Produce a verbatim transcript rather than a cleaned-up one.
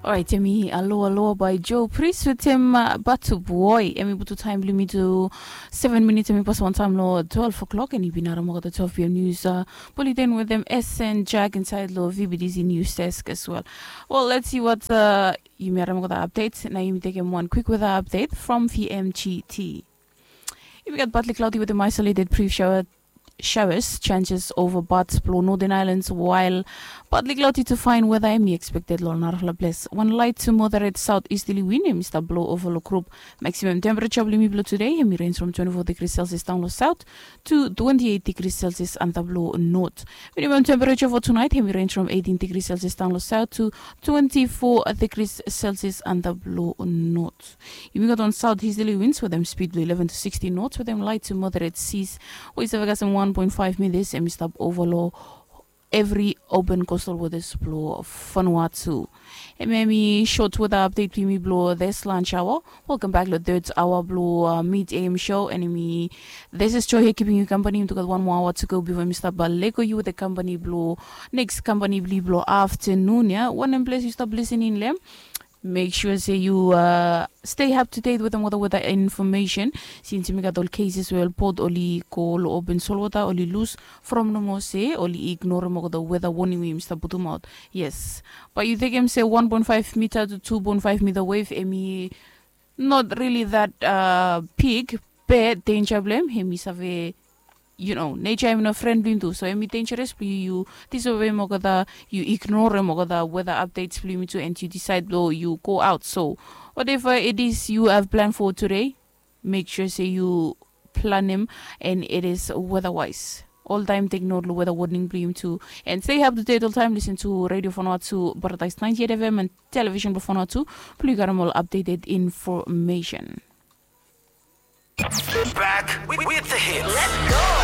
Orait, em i Aloha Aloha by Joe Priest wetem uh, Batu Boy. Em i putu taem bilong mi tu seven minutes, em i pas wantaem long twelve o'clock, and i bin harim olgeta twelve p.m. news uh, bulletin wetem S N Jack inside long V B T C news desk as well. Well, let's see what uh, yumi harim olgeta update. Na yumi tekem one quick weather update from V M G T. Yumi gat partly cloudy wetem isolated brief shower showers chances over parts bilong Northern Islands, while partly cloudy to fine weather em i expected long narafala ples. One light to moderate south easterly wind em i stap blow over long group. Maximum temperature bilong yumi bilong today em i range from twenty-four degrees Celsius down long south to twenty-eight degrees Celsius antap long north. Minimum temperature for tonight em i range from eighteen degrees Celsius down long south to twenty-four degrees Celsius antap long north. Yumi gat wan south easterly winds wetem speed bilong eleven to sixty knots wetem light to moderate seas, we i save kasem one point five meters, em i stap over long every open coastal waters bilong Vanuatu. Em em i short weather update bilong yumi bilong this lunch hour. Welcome back long third hour bilong uh, mid A M show, and em i this is Joy here keeping you company. Yumi tu gat one more hour to go before yumi stap uh, lego yu wetem company bilong next company bilong afternoon ya. Wanem ples yu stap listening long em, make sure say you uh, stay up to date with the weather weather information. Since yumi gat ol cases we ol boat oli go long open solwata oli lose from nomo se oli ignorem olgeta weather warning we yumi stap putum out. Yes, but yu tekem se one point five meter to two point five meter wave em i not really that uh, big, but danger bilong em em i save you know, nature em i no friend bilong yumi tu, so em i dangerous bilong yu yu disobeyim olgeta, yu ignorem olgeta weather updates bilong yumi tu, and yu decide lo yu go out. So whatever it is you have plan for today, make sure say yu planem and it is weather wise. Oltaem take note lo weather warning bilong yumi tu, and stay up to date oltaem. Listen to Radio Vanuatu, Paradise ninety-eight F M and Television Vanuatu, bilong yu gat ol updated information. Back with, with the hits.